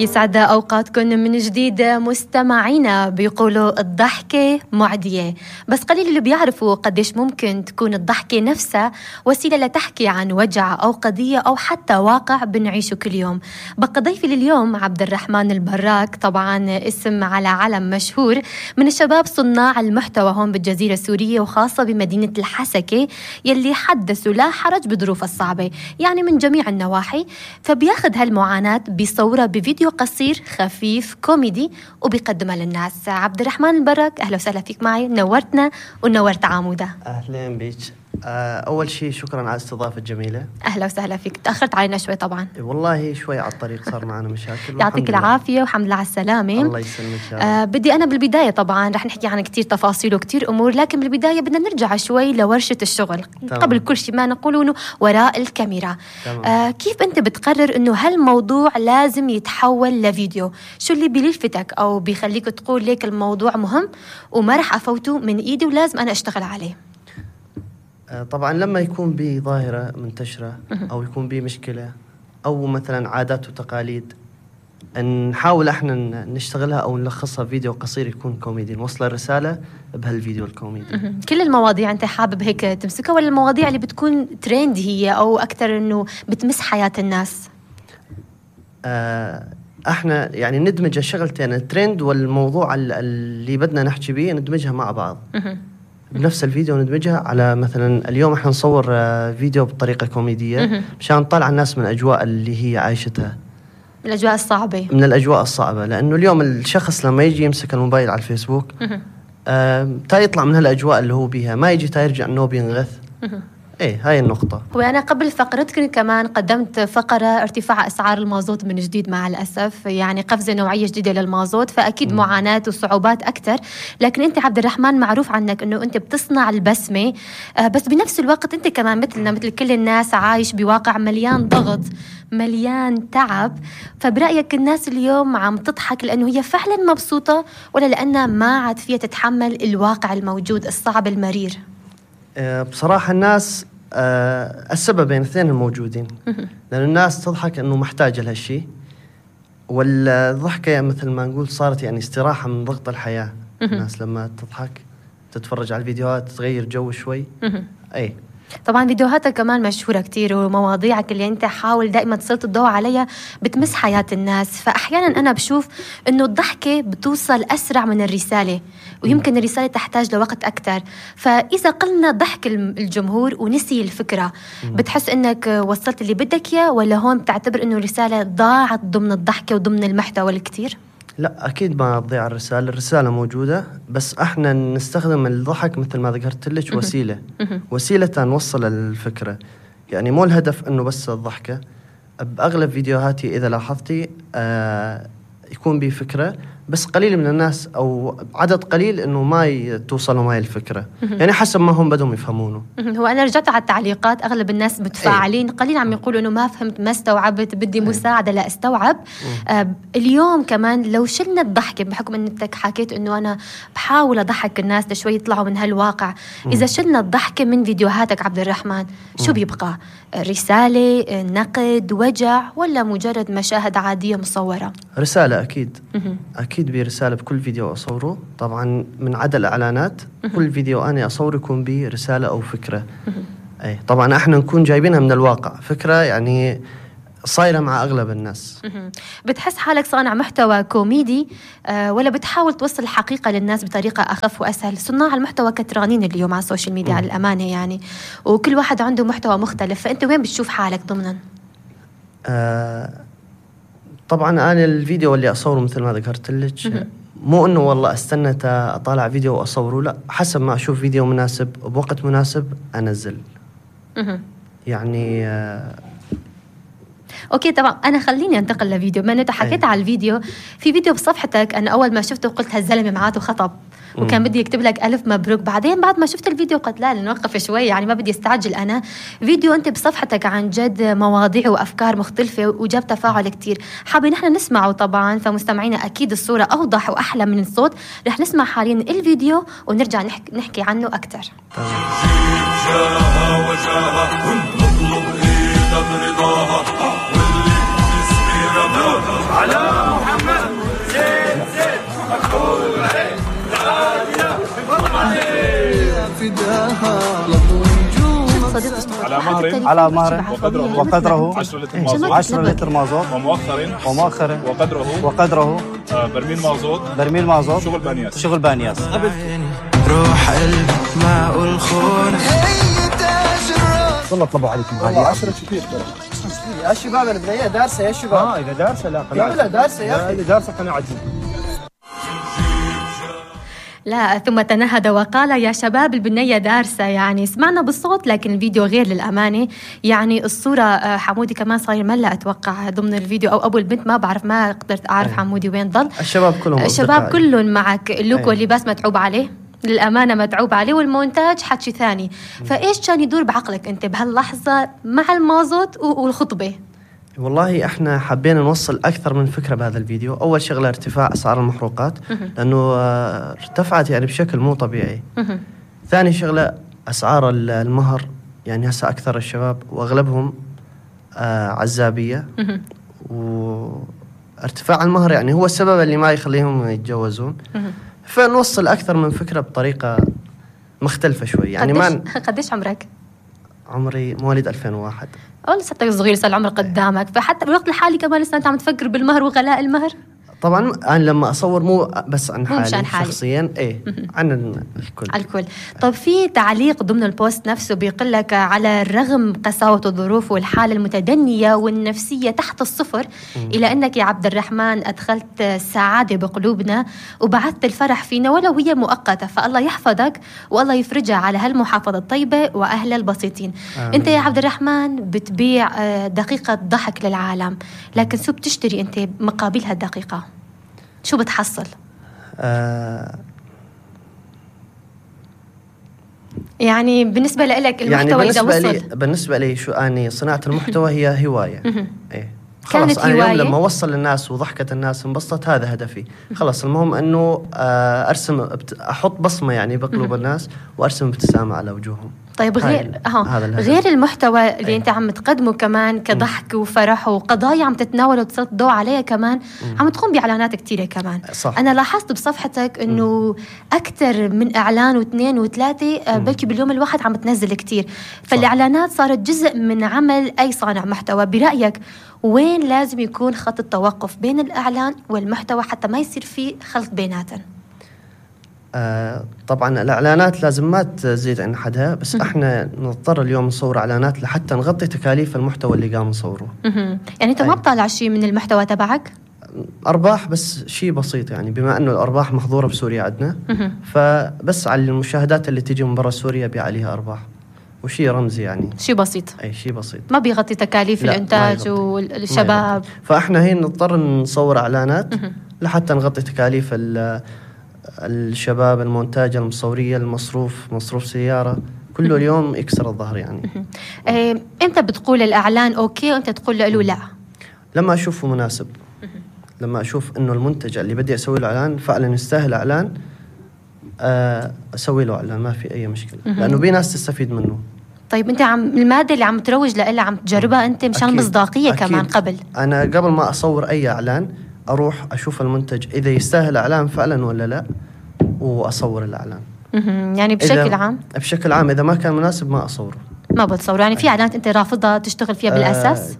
يسعد أوقاتكم من جديد مستمعينا. بيقولوا الضحكة معدية، بس قليل اللي بيعرفوا قديش ممكن تكون الضحكة نفسها وسيلة لتحكي عن وجع أو قضية أو حتى واقع بنعيشه كل يوم. بقى ضيفي لليوم عبد الرحمن البراك، طبعا اسم على علم مشهور، من الشباب صناع المحتوى هون بالجزيرة السورية وخاصة بمدينة الحسكة، يلي حدثوا لا حرج بظروف الصعبة يعني من جميع النواحي، فبياخد هالمعاناة بصورة بفيديو قصير خفيف كوميدي وبيقدمها للناس. عبد الرحمن البراك، أهلا وسهلا فيك معي، نورتنا ونورت عامودة. أهلين بيك. أول شيء شكرا على الاستضافة الجميلة. أهلا وسهلا فيك. تأخرت علينا شوي طبعا. والله شوي على الطريق صار معنا مشاكل. يعطيك العافية وحمد لله على السلامة. الله يسلمك. بدي أنا بالبداية طبعا رح نحكي عن كتير تفاصيل وكتير أمور، لكن بالبداية بدنا نرجع شوي لورشة الشغل. تمام. قبل كل شيء ما نقوله وراء الكاميرا. كيف أنت بتقرر أنه هالموضوع لازم يتحول لفيديو؟ شو اللي بيلفتك أو بيخليك تقول ليك الموضوع مهم وما رح أفوته من إيدي ولازم أنا أشتغل عليه؟ طبعا لما يكون بظاهرة منتشرة أو يكون بمشكلة أو مثلا عادات وتقاليد، نحاول احنا نشتغلها أو نلخصها فيديو قصير يكون كوميدي، نوصل الرسالة بهالفيديو الكوميدي. كل المواضيع أنت حابب هيك تمسكها ولا المواضيع اللي بتكون ترند هي أو أكتر أنه بتمس حياة الناس؟ احنا يعني ندمج الشغلتين، الترند والموضوع اللي بدنا نحكي بيه ندمجها مع بعض بنفس الفيديو، ندمجها على مثلا اليوم احنا نصور فيديو بطريقة كوميدية مشان نطلع الناس من الأجواء اللي هي عايشتها، من الأجواء الصعبة. من الأجواء الصعبة، لأنه اليوم الشخص لما يجي يمسك الموبايل على الفيسبوك تا يطلع من هالأجواء اللي هو بيها، ما يجي تا يرجع إنه بينغث. ايه هاي النقطة. وأنا قبل فقرتكم كمان قدمت فقرة ارتفاع أسعار المازوت من جديد مع الأسف، يعني قفزة نوعية جديدة للمازوت، فأكيد معاناة وصعوبات أكتر، لكن أنت عبد الرحمن معروف عنك أنه أنت بتصنع البسمة، بس بنفس الوقت أنت كمان مثلنا مثل كل الناس عايش بواقع مليان ضغط مليان تعب. فبرأيك الناس اليوم عم تضحك لأنه هي فعلا مبسوطة ولا لأنها ما عاد فيها تتحمل الواقع الموجود الصعب المرير؟ بصراحة الناس السببين اثنين الموجودين، لأن الناس تضحك أنه محتاجة لهالشيء، والضحكة مثل ما نقول صارت يعني استراحة من ضغط الحياة. الناس لما تضحك تتفرج على الفيديوهات تغير جو شوي. أي طبعا فيديوهاتك كمان مشهورة كتير، ومواضيعك اللي انت حاول دائما تسلط الضوء عليها بتمس حياة الناس، فأحيانا أنا بشوف أنه الضحكة بتوصل أسرع من الرسالة، ويمكن الرسالة تحتاج لوقت أكتر. فإذا قلنا ضحك الجمهور ونسي الفكرة، بتحس أنك وصلت اللي بدك إياه ولا هون بتعتبر أنه الرسالة ضاعت ضمن الضحكة وضمن المحتوى الكتير؟ لا أكيد ما تضيع الرسالة موجودة، بس احنا نستخدم الضحك مثل ما ذكرت لك وسيلة نوصل الفكرة، يعني مو الهدف انه بس الضحكة. بأغلب فيديوهاتي إذا لاحظتي يكون بي فكرة، بس قليل من الناس أو عدد قليل إنه ما توصلوا معي الفكرة، يعني حسب ما هم بدهم يفهمونه. هو أنا رجعت على التعليقات أغلب الناس متفاعلين، قليل عم يقولوا إنه ما فهمت ما استوعبت بدي مساعدة لأستوعب. اليوم كمان لو شلنا الضحكة بحكم أنك حكيت إنه أنا بحاول أضحك الناس لشوي يطلعوا من هالواقع، إذا شلنا الضحكة من فيديوهاتك عبد الرحمن شو بيبقى؟ رسالة، نقد، وجع، ولا مجرد مشاهد عادية مصورة؟ رسالة أكيد. أكيد برسالة بكل فيديو أصوره، طبعا من عدا الإعلانات كل فيديو أنا أصور يكون به رسالة أو فكرة. أي طبعا احنا نكون جايبينها من الواقع، فكرة يعني صايرة مع أغلب الناس. بتحس حالك صانع محتوى كوميدي ولا بتحاول توصل الحقيقة للناس بطريقة أخف وأسهل؟ صناع المحتوى كترانين اليوم على السوشيال ميديا على الأمانة يعني، وكل واحد عنده محتوى مختلف، فأنت وين بتشوف حالك ضمنا؟ طبعا أنا الفيديو اللي أصوره مثل ما ذكرت لك مو إنه والله استنى أطالع فيديو وأصوره، لا، حسب ما أشوف فيديو مناسب بوقت مناسب أنزل. يعني اوكي طبعا انا خليني انتقل لفيديو، ما انت حكيت على الفيديو، في فيديو بصفحتك انا اول ما شفته قلت هالزلمه معاته خطب وكان بدي يكتب لك ألف مبروك، بعدين بعد ما شفت الفيديو قلت لا نوقف شوي، يعني ما بدي استعجل. أنا فيديو أنت بصفحتك عن جد مواضيع وأفكار مختلفة وجاب تفاعل كتير، حابين نحن نسمعه طبعا، فمستمعينا أكيد الصورة أوضح وأحلى من الصوت. رح نسمع حاليا الفيديو ونرجع نحكي عنه أكتر. على على مهر وقدره 10 لتر مازوت ومؤخر وقدره برميل مازوت شغل بانياس. روح قلبي معقول الخون والله طلبوا عليكم والله 10 كثير يا شباب البنية دارسة يا شباب. إذا دارسة لا دارسة يا أخي. إذا دارسة أنا عجيب. لا ثم تنهد وقال يا شباب البنية دارسة. يعني سمعنا بالصوت لكن الفيديو غير للأمانة. يعني الصورة حمودي كمان صاير ملا أتوقع ضمن الفيديو أو أبو البنت ما بعرف ما قدرت أعرف حمودي وين ضل. الشباب كلهم معك. اللوك واللباس متعوب عليه للأمانة متعوب عليه والمونتاج حكي ثاني. فإيش كان يدور بعقلك أنت بهاللحظة مع المازوت والخطبة؟ والله احنا حبينا نوصل اكثر من فكره بهذا الفيديو. اول شغله ارتفاع اسعار المحروقات لانه ارتفعت يعني بشكل مو طبيعي. ثاني شغله اسعار المهر، يعني هسه اكثر الشباب واغلبهم عزابيه، وارتفاع المهر يعني هو السبب اللي ما يخليهم يتجوزون. فنوصل اكثر من فكره بطريقه مختلفه شوي. يعني قديش عمرك؟ عمري مواليد 2001. لساتك صغير صار العمر قدامك. فحتى بالوقت الحالي كمان لسه انت عم تفكر بالمهر وغلاء المهر؟ طبعا انا لما اصور مو بس عن حالي شخصيا، عن الكل. طب في تعليق ضمن البوست نفسه بيقول لك على الرغم قساوة الظروف والحالة المتدنية والنفسية تحت الصفر إلى أنك يا عبد الرحمن أدخلت السعادة بقلوبنا وبعثت الفرح فينا ولو هي مؤقتة. فالله يحفظك والله يفرجها على هالمحافظة الطيبة وأهل البسيطين. أنت يا عبد الرحمن بتبيع دقيقة ضحك للعالم، لكن شو بتشتري أنت مقابل هالدقيقة؟ شو بتحصل؟ يعني بالنسبة لك المحتوى يعني إذا وصل بالنسبة لي شو أني صناعة المحتوى هي هواية. خلاص أنا اليوم لما وصل للناس وضحكت الناس انبسطت هذا هدفي. خلاص المهم أنه أرسم أحط بصمة يعني بقلوب الناس وأرسم ابتسامة على وجوههم. طيب غير المحتوى اللي انت عم تقدمه كمان كضحك وفرح وقضايا عم تتناول وتسلط الضوء عليها كمان، عم تقوم بإعلانات كتيرة كمان. صح. أنا لاحظت بصفحتك إنه أكثر من إعلان واثنين وثلاثة بلكي باليوم الواحد عم تنزل كتير. فالإعلانات صارت جزء من عمل أي صانع محتوى. برأيك وين لازم يكون خط التوقف بين الإعلان والمحتوى حتى ما يصير فيه خلط بيناتهم؟ طبعا الإعلانات لازم ما تزيد عن حدها، بس احنا نضطر اليوم نصور إعلانات لحتى نغطي تكاليف المحتوى اللي قام نصوره. يعني انت ما بطالع شيء من المحتوى تبعك؟ أرباح بس شيء بسيط، يعني بما أنه الأرباح محظورة بسوريا عندنا، فبس على المشاهدات اللي تيجي من برا سوريا بي عليها أرباح، وشيء رمزي يعني شيء بسيط. أي شيء بسيط ما بيغطي تكاليف الإنتاج والشباب. فإحنا هين نضطر نصور إعلانات لحتى نغطي تكاليف الشباب، المونتاج، المصورية، مصروف سيارة، كله اليوم يكسر الظهر يعني. أنت بتقول الإعلان أوكي وأنت تقول له لا؟ لما أشوفه مناسب، لما أشوف إنه المنتج اللي بدي أسوي له إعلان فعلا يستاهل إعلان، أسوي له إعلان ما في أي مشكلة، لأنه بي ناس تستفيد منه. طيب أنت المادة اللي عم تروج لها عم تجربها أنت مشان مصداقية كمان قبل؟ أنا قبل ما أصور أي إعلان أروح أشوف المنتج إذا يستاهل إعلان فعلا ولا لا، وأصور الإعلان. يعني بشكل عام إذا ما كان مناسب ما أصوره، ما بتصوره. يعني في إعلانات أنت رافضها تشتغل فيها بالأساس؟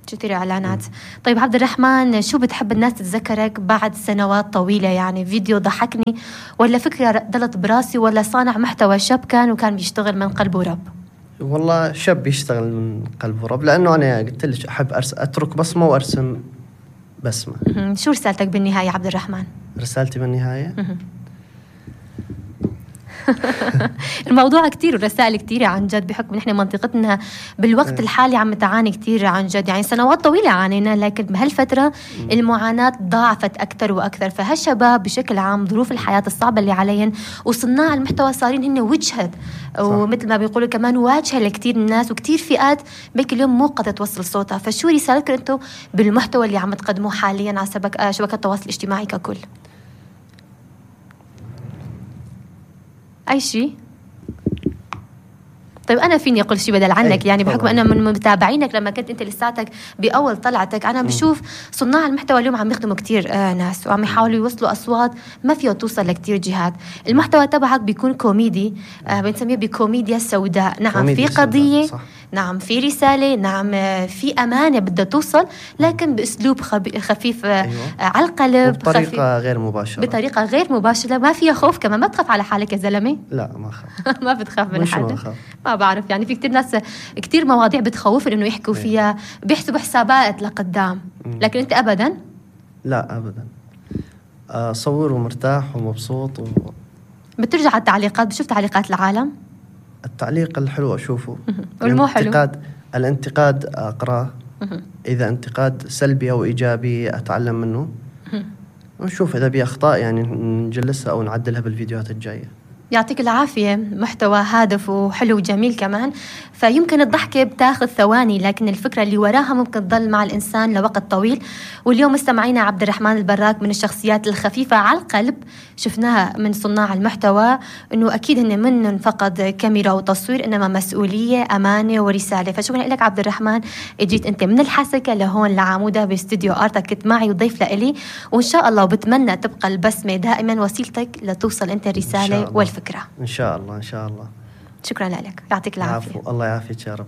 كثير إعلانات. طيب عبد الرحمن، شو بتحب الناس تتذكرك بعد سنوات طويلة؟ يعني فيديو ضحكني، ولا فكرة ضلت براسي، ولا صانع محتوى شاب وكان بيشتغل من قلب ورب؟ والله شاب يشتغل من قلب ورب، لأنه أنا قلت لك أحب أترك بصمة وأرسم بسمة. شو رسالتك بالنهاية عبد الرحمن؟ رسالتي بالنهاية الموضوع كتير والرسائل كتيرة عن جد، بحكم نحن منطقتنا بالوقت الحالي عم تعاني كتير عن جد. يعني سنوات طويلة عانينا، لكن بهالفترة المعاناة ضاعفت أكثر وأكثر. فهالشباب بشكل عام ظروف الحياة الصعبة اللي عليهم، وصناع المحتوى صارين هن وجهة، ومثل ما بيقولوا كمان واجهة لكتير الناس وكتير فئات بك اليوم مو قادرة توصل صوتها. فشو رسالتكم أنتم بالمحتوى اللي عم تقدموه حاليا على شبكات التواصل الاجتماعي ككل؟ أي شيء؟ طيب أنا فيني أقول شيء بدل عنك أي يعني طبعاً. بحكم أنا من متابعينك لما كنت أنت لساتك بأول طلعتك. أنا بشوف صناع المحتوى اليوم عم يخدموا كتير ناس وعم يحاولوا يوصلوا أصوات ما فيها توصل لكتير جهات. المحتوى تبعك بيكون كوميدي، بنسميه بكوميديا سوداء. نعم كوميديا في سوداء، قضية، صح. نعم في رسالة، نعم في أمانة بدها توصل، لكن بأسلوب خفيف على القلب، بطريقة غير مباشرة. بطريقة غير مباشرة، ما فيها خوف كمان. ما تخاف على حالك يا زلمة؟ لا ما أخاف. ما بتخاف من وش ما حدا؟ أخاف. ما بعرف يعني في كتير ناس كتير مواضيع بتخوف إنه يحكوا فيها، بيحسبوا حسابات لقدام، لكن أنت أبدا. لا أبدا، صور ومرتاح ومبسوط بترجع على التعليقات، بشوف تعليقات العالم. التعليق الحلو أشوفه، والمو حلو. الانتقاد أقرأه، إذا انتقاد سلبي أو إيجابي أتعلم منه، ونشوف إذا بي أخطاء يعني نجلسها أو نعدلها بالفيديوهات الجاية. يعطيك العافية، محتوى هادف وحلو وجميل كمان. فيمكن الضحكة بتاخذ ثواني، لكن الفكرة اللي وراها ممكن تضل مع الإنسان لوقت طويل. واليوم مستمعينا عبد الرحمن البراك من الشخصيات الخفيفة على القلب، شفناها من صناع المحتوى إنه أكيد هن من فقط كاميرا وتصوير، إنما مسؤولية، أمانة ورسالة. فشكرا لك عبد الرحمن، اجيت أنت من الحسكة لهون لعمودة باستوديو آرتك، كنت معي وضيف لإلي، وإن شاء الله وبتمنى تبقى البسمة دائما وسيلتك لتوصل أنت الرسالة والفكرة. إن شاء الله إن شاء الله. شكرا لك، يعطيك العافية. الله يعافيك يا رب.